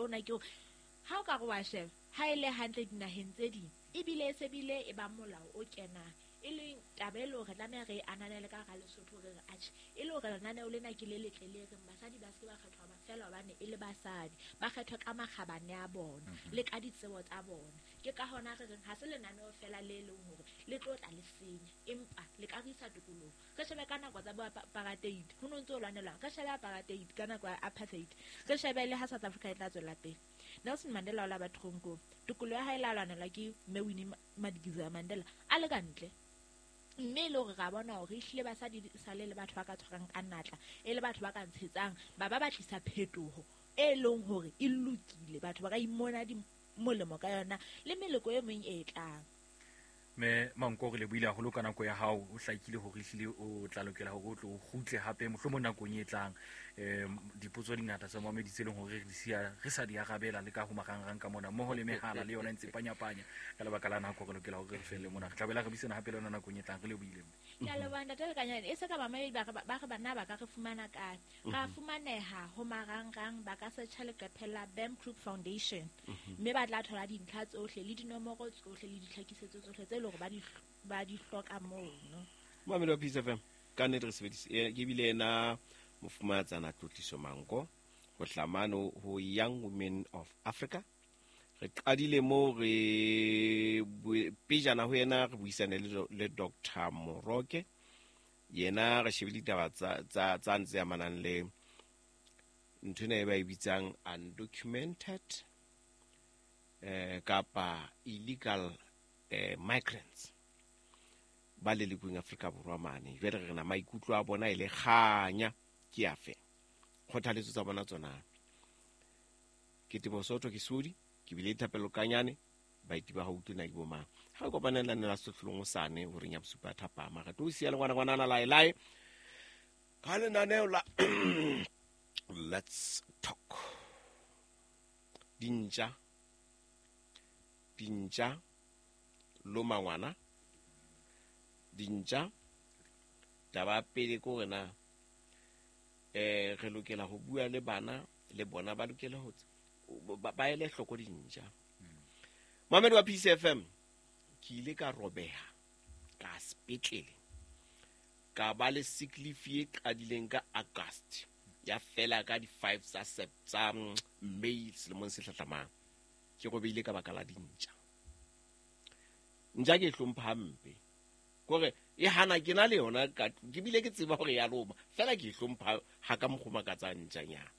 ona ke hore ha o ka re wa sheba ha e le hantle dinaheng tse ding ebile e se bile e ba molao o kenang, e leng taba e le hore re tlameha re e ananele ka hara Lesotho, re re atjhe, e le hore lenaneo lena ke le letle le reng basadi ba se ke ba kgethwa feela hobane e le basadi, ba kgethwe ka makgabane a bona le ka ditsebo tsa bona. Ke ka hona re reng ha se lenaneo feela le leng hore le tlo tla le senya, empa le ka re isa tokolohong. Re shebe ka nako tsa bo apartheid, ho no ntse ho lwanelwang, re shebe apartheid ka nako ya apartheid, re shebe le ha South Africa e tla tswela pele. Nelson Mandela o la ba tronkong, tokoloho ya hae la lwanelwa ke mme Winnie Madikizela Mandela a le ka ntle, mme e le hore ra bona hore ehlile basadi sale le batho ba ka tshwarang ka natla, e le batho ba ka ntshetsang ba ba batlisa phetoho e leng hore e lokile, batho ba ka imona di molemo ka yona le meloko e meng e tlang. Mme Manko, re lebohile haholo ka nako ya hao. O hlakile hore ehlile o tla lokela hore o tlo o kgutle hape mohlomong nakong e tlang. Dipotso di ngata tsa mamedi tse leng hore re di siya re sa di arabela le ka ho marangrang ka mona, mmoho le mehala le yona e ntse panyapanya. Ka lebaka la nako re lokela hore re felle mona. Re tla boela re buisana hape le yona nakong e tlang. Re lebohile, mme. Ke a leboha, Ntate Lekanyane. E se ka bamamedi ba re bana ba ka re fumana kae? Ra fumaneha ho marangrang, ba ka searcha leqephe la BAM Group Foundation, mme ba tla thola dintlha tsohle le dinomoro tsohle le ditlhakisetso tsohle tse leng hore ba di hloka mono. Mamedi wa Peace FM, ka nnete re sebedise, ke bile ena mofumahatsana Tlotliso Manko ho hlamano ho Young Women of Africa. Re qadile moo re pejana ho yena re buisane le Doctor Moroke. Yena re shebile ditaba tsa ntse amanang le nthwena e ba e bitsang undocumented kapa illegal migrants ba lelekweng Afrika Borwa mane. Jwale re na maikutlo a bona e le kganya ke afe, kgothaletso tsa bona tsona. Ke Teboho Soto, ke Sodi, ke bile Thapelo Kanyane, baeti ba haufi na ke bo mang. Ha re kopaneng la nna sehlong sane horeng ya bosupa thapama, re tlo siya le ngwana ngwanana lae lae ka lenaneo la Let's Talk. Dintja, dintja, loma ngwana, dintja. Taba pele ke hore na re lokela ho bua le bana, le bona ba lokela ho ba ele hloko dintja. Mamedi wa Peace FM, ke ile ka robeha ka sepetlele, ka ba le sick leave e qadileng ka August, ya fela ka di 5 tsa May selemong se hlahlamang. Ke robehile ka baka la dintja. Ntja ke e hlompha hampe, kore e hana ke na le yona ka tlung, ke bile ke tseba hore ya loma, fela ke e hlompha ha ka mokgwa o makatsang ntjanyana.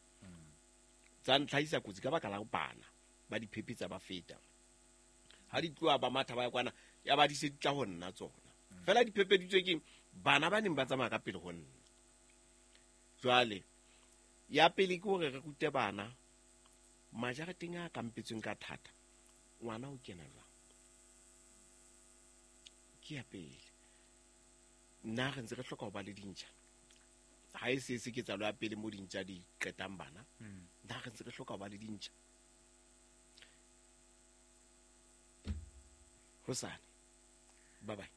Tsa ntlhahisa kotsi ka baka la bana ba di phephetsa ba feta. Ha di tloha ba matha ba ya kwana, ya ba di se di tla ho nna tsona. Fela di phepheditswe ke bana ba neng ba tsamaya ka pele ho nna. Jwale ya pele ke hore re rute bana majareteng a kampetsweng ka thata, ngwana o kena jwang? Ke ya pele. Nna re ntse re hloka ho ba le dintja. Ha e se se ketsahalo ya pele mo dintja di qetang bana. Nna re ntse re hloka ho ba le dintja. Hosane. Bye bye.